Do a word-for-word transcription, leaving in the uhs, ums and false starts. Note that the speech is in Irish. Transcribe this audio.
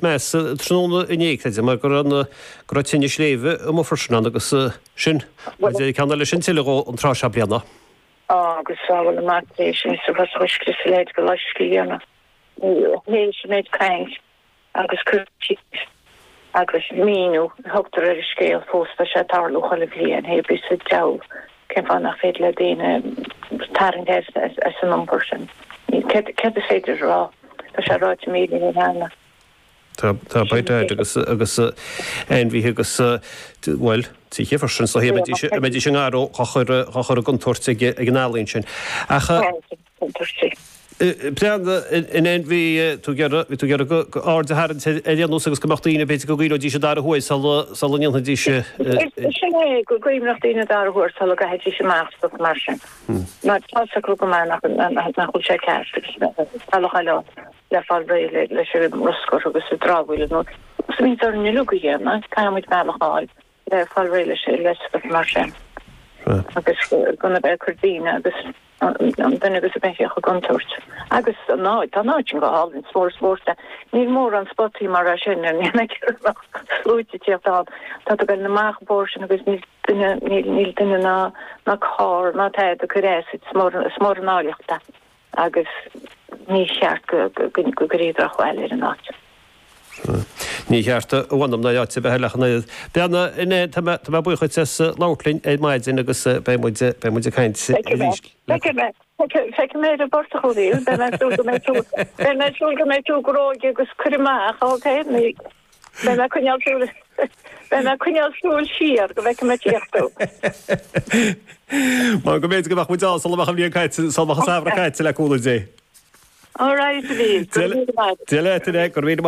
measa tráthnóna inné, creidim, mar go raibh na, go raibh tine sléibhe amuigh freisin ann agus sin, mar a deir ceann eile sin tuilleadh dhó an tráth seo bliana. Á, agus sábháil amach é sin sa bhus uisce sa leid go loiscthe a dhéanamh. Théis an méid caint agus cur síos agus míniú a thugtar ar an scéal fós tá sé ag tarlú chuile bhliain, hé bí sa diabhal cén fáth nach féidir le daoine tarraingt as as an iompar sin. Céard céard is féidir a rá? Tá sé ráite míle uair cheana. Tá tá beidh daid agus agus ainmhithe agus bhuel tithe freisin so a mbeidís a mbeidís i ngaró á chur á chur i gcontúirt ag ag an ealaín sin. Ach Contúirtí. Breanda, in aon bhí tú ag iarraidh bhí tú ag iarraidh go go aird a tharraingt ar ar aon nós agus go mbeadh daoine b'fhéidir go gcuimhneoidís an dara huair sula sula ndéanfaidís Sin é go gcuimhneodh daoine an dara huair sula gcaithfidís amach stuff mar sin. Mar tá a fhios acu go maith nach nach bhfuil sé ceart agus bealach eile le fáil réidh leis an mbruscar agus an dramhaíl nó is muid orainn uilig a dhéanamh, caithfidh muid bealach a fháil le fáil réidh leis le stuff mar sin. Agus gan a bheith ag cur daoine agus an duine agus a beithíoch i gcontúirt. Agus an áit, tá an áit sin go hálainn, is mór is spórt é. Níl mórán spotaí mar é sin ar níl sluaite ag tíocht ann. Tá tú ag dul amach an bóthar sin agus níl duine, níl, níl duine ná, ná carr ná tada ag cur as, is mór, is mór an áilleacht é. Agus ní cheart go, go, go gcuirfí drochbhail ar an áit. Ní cheart a mh'anam ná áit ar bith eile ach an oiread. Beanna, inné, tá mé, tá mé buíoch duit as labhairt linn ar maidin agus beidh muid, beidh muid ag caint arís. Feicfidh mé, feicfidh mé ar an bportach thú, beidh mé ag súil go mbeidh tú, beidh mé ag súil go mbeidh tú gróig agus cuir amach, ok? Beidh mé ag coinneáil súil, beidh mé ag coinneáil súil siar go bhfeicfidh mé tíocht thú. Mar go mb'fhéidir go mbeadh muid ann sula mbeadh an bhliain caite, sula mbeadh an samhradh caite le cúnamh Dé. All right, a Mhíl. Go raibh míle maith. Dia leat, a Go raibh míle maith.